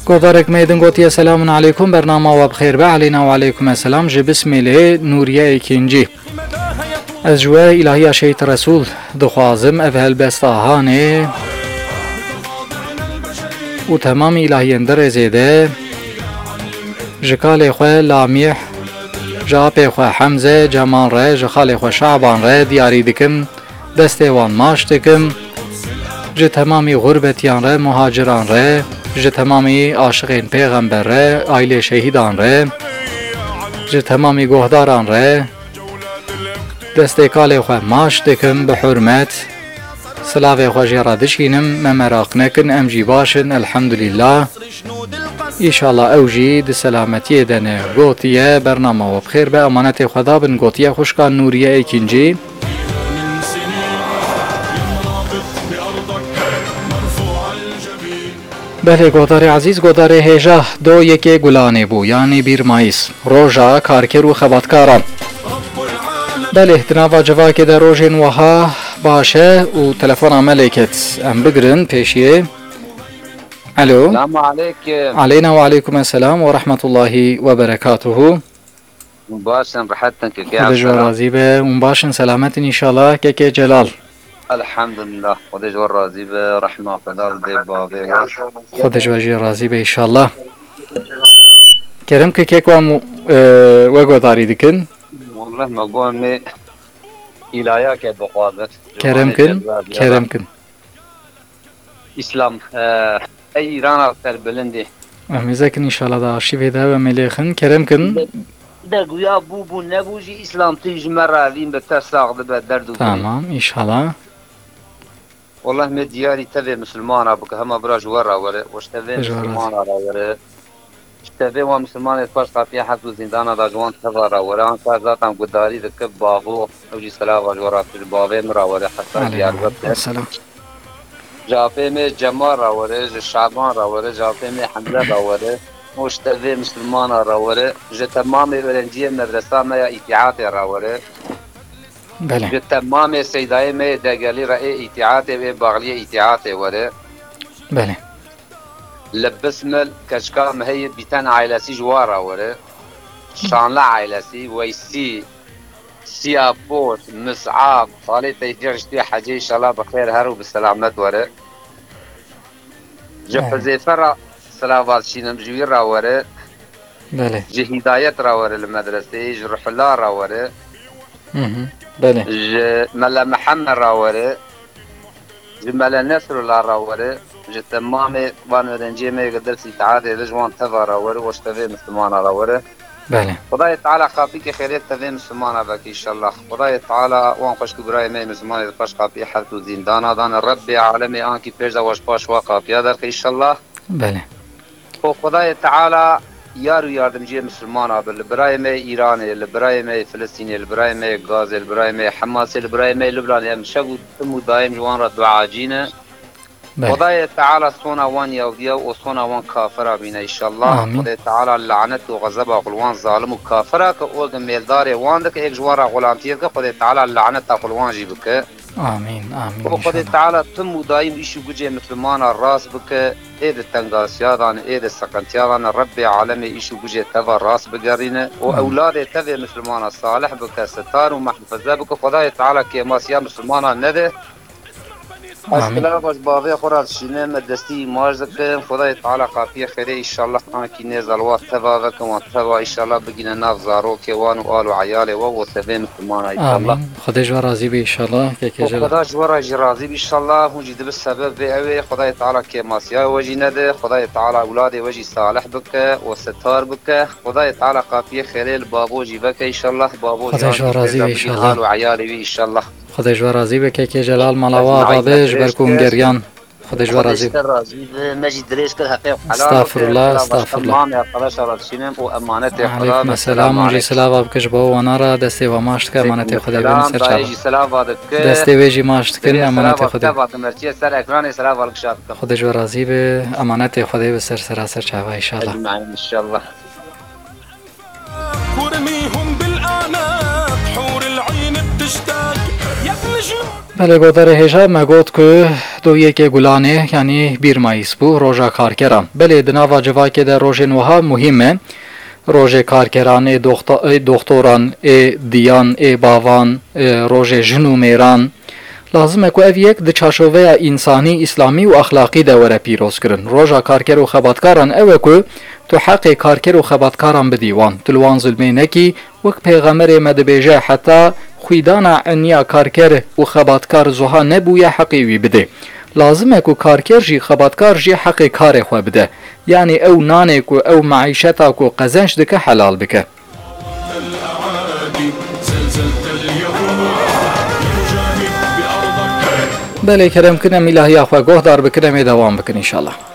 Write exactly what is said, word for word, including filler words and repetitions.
Godarek me din gotiye, "Selamun aleykum, bernama we bi xêr be." Aleyna we aleykum esselam. Ji Bismilê Nûriye Ekîncî. Ez ji we îlahiya Şehîd Resûl dixwazim. Ev helbesta Hanê û temamî îlahiyên di rêzê de ji kalê xwe Lamîh, ji apê xwe Hemze Cemal re, ji xalê xwe Şaban re diyarî dikim. Destê wan maç dikim. Ji temamî xurbetiyan re, muhaciran re, ji temamî aşiqên pêxember re, aîlê şehîdan re, ji temamî guhdaran re destê kalê xwe maç dikim bi hurmet. Silavê xwe jê re dişînim, me meraq nekin, em jî baş in, elhemdulîllah. Îşallah ew jî di selametiyê de ne. Gotiye, "Bernama we bi xêr be, emanetê xwe da bin." Gotiye xwişka Nûriye Ekîncî. Belê, godarê ezîz, godarê hêja do yekê Gulanê bû, yanî bir Mayîs, roja karker û xebatkaran. Belê, di nava civakê de rojên wiha baş e û telefona me lê ket. Em bigirin pêşiyê. Alo. Selamu aleykum. Aleyna ve aleykum esselam ve rahmetullahi ve berekatuhu. Hûn baş in, rehet in, kekê Xwedê ji we Abdullah. Razî be. Hûn baş in, selamet in înşallah. Kekê Celal. Elhamdulillah. Xwedê ji we razî be. Rehma Xweda li dê bavê we. Xwedê ji we jî razî be înşallah. Kerem ke kek we mu-, e, we godarî dikin. Wallah me got me îlayake bixwazin. Kerem kin, kerem kin. Îslam, e, ey Îrana serbilindê. Em hêzekin înşallah da arşîvê de em ê lêxin. Kerem kin. De, de guya bû bû nebû jî Îslam tu ji me re evîn bi te sax dibe derd û birî. Tamam, înşallah. Wallah me diyarî tevê misilmana bike, hema bira ji we re were, û ji tevê Ji we re. Misilmana re were. Ji tevê wan misilmanê paş qatiya heft û zîndana da ji wan teva re were. Anka zaten gudarî dike bavo, ew jî selava ji we re, ji bavê min re were, heta Aleyna Diyarbekir. Selam. Ji apê me Cemal re were, ji Şaban re were, ji apê me Hemze re were. Û ji tevê misilmana re were. Ji temamê öğrenciyê medresa me ya îtîatê re were. Belê. Ji temamê seydayê me yê Degelî re ê îtîatê wê baxliyê îtîatê were. Belê. Li Bismil keçika me heye Bîten ailesî ji wa re were. Şanli ailesî, Weysî, Siyapor, Mis'ab, Xalê Teyfî Riştî Hecê, înşallah bi xêr her û bi selamet were. Ji Belê. Huzeyfe re silavat şînim, ji wî re were. Belê. Ji Hîdayet re were li medreseyê, ji Ruhullah re were. Hı hı. Belê. Ji Mele Mihemed re were. Ji Mele Nesrullah re were. Ji temamê van öğrenciyê me yê ki ders îtaatê de ji wan teva re were û ji tevê Müslümana re were. Belê. Xwedayê Teala qapîkê xêrê tevê Müslümana veke înşallah. Xwedayê Teala wan xweşk û birayê me yê Müslümanê di paş qapiyê heft û zîndana dane. Rebbê alemê ankî pêş de we ji paş wa qapiya derxe înşallah. Belê. Û Xwedayê Teala yar û yardimciyê Müslümana be. Li birayê me yê Îranê, li birayê me yê Filistînê, li birayê me yê Gazê, li birayê me yê Hemasê, li birayê me yê Lubnanê, em şev û tim û daîm ji wan re duacî ne. Belê. Xwedayê Teala sona wan yawdiya û sona wan kafira bîne înşallah. Amîn. Xwedê Teala lanet û xezeba xwe li wan zalim û kafira ke û êk mêldarê wan dike, êk ji wan re xulamtiyê dike, Xwedê Teala laneta xwe li wan jî bike. Amîn, amîn, Û Xwedê înşallah. Teala tim û daîm îş û gucê Müslümana rast bike, ê di tengasiya de ne, ê di seqintiya de ne, Rebbê alemê îş û gucê teva rast bigerîne û Amîn. Ewladê tevê Müslümana salih bike, sitar û mehfize bike. Xwedayê Teala kêmasiya Müslümana nede. Ez Amîn. Silava ji bavê xwe re dişînim, me destî îmaj dikim. Xwedayê Teala qapiyê xêrê înşallah ankî nêza li wa teva veke, wan teva înşallah bigîne nav zarokê wan û al û eyalê we û tevê Müslümana înşallah. Amîn. Xwedê ji we razî be înşallah. Kekê Û Celal. Xweda ji we re jî razî be înşallah. Hûn jî dibe sebeb vê ew ê. Xwedayê Teala kêmasiya we jî nede. Xwedayê Teala ewladê we jî salih bike û sitar bike. Xwedayê Teala qapiyê xêrê li bavo jî veke înşallah. Bavo Xwedê jî ji we ankî razî be pêza bigîne înşallah. Al û eyalê wî înşallah. Xwedê ji we razî be kekê Celal, mala we azad be, ji ber ku hûn geriyan. Xwedê ji we razî be. Xwedê ji te razî be, me jî dirêj kir, heqê xwe helal bike. Estağfurullah, estağfurullah. Tamamê arkadaşa re dişînim û emanetê Xweda be. Aleyküm selam, hûn jî silava bike ji bo wana re, destê we maç dike, emanetê Xwedê bînin ser çava. Dayê jî silava dike. Destê wê jî maç dikin, emanetê Xwedê. Silava dike, merçiye ser ekranê silava li kişa dikim. Xwedê ji we razî be, emanetê Xwedê bi ser sera ser çava înşallah. Ecmaîn înşallah. Belê, godarê hêja me got ku doyekê Gulanê, yanî bir Mayîs bû, roja karkeran. Belê, di nava civakê de rojên wiha muhîm e. Rojê karkeran ê doxta-, ê doxtoran, ê diyan, ê bavan, ê rojê jin û mêran. Lazim e ku ev yek di çarçoveya însanî, îslamî û exlaqî de were pîrozkirin. Roja karker û xebatkaran ew e ku tu heqê karker û xebatkaran bidî wan. Tu li wan zulmê nekî, wek Pêxemerê me dibêje, heta xwîdana eniya karker û xebatkar zuha nebûye, heqê wî bidê. Lazim e ku karker jî, xebatkar jî heqê karê xwe bide. Yanî ew nanê ku, ew meîşeta ku qezenc dike, helal bike. Belê, kerem kin, em îlahiya xwe gohdar bikin, em ê dewam bikin, înşallah.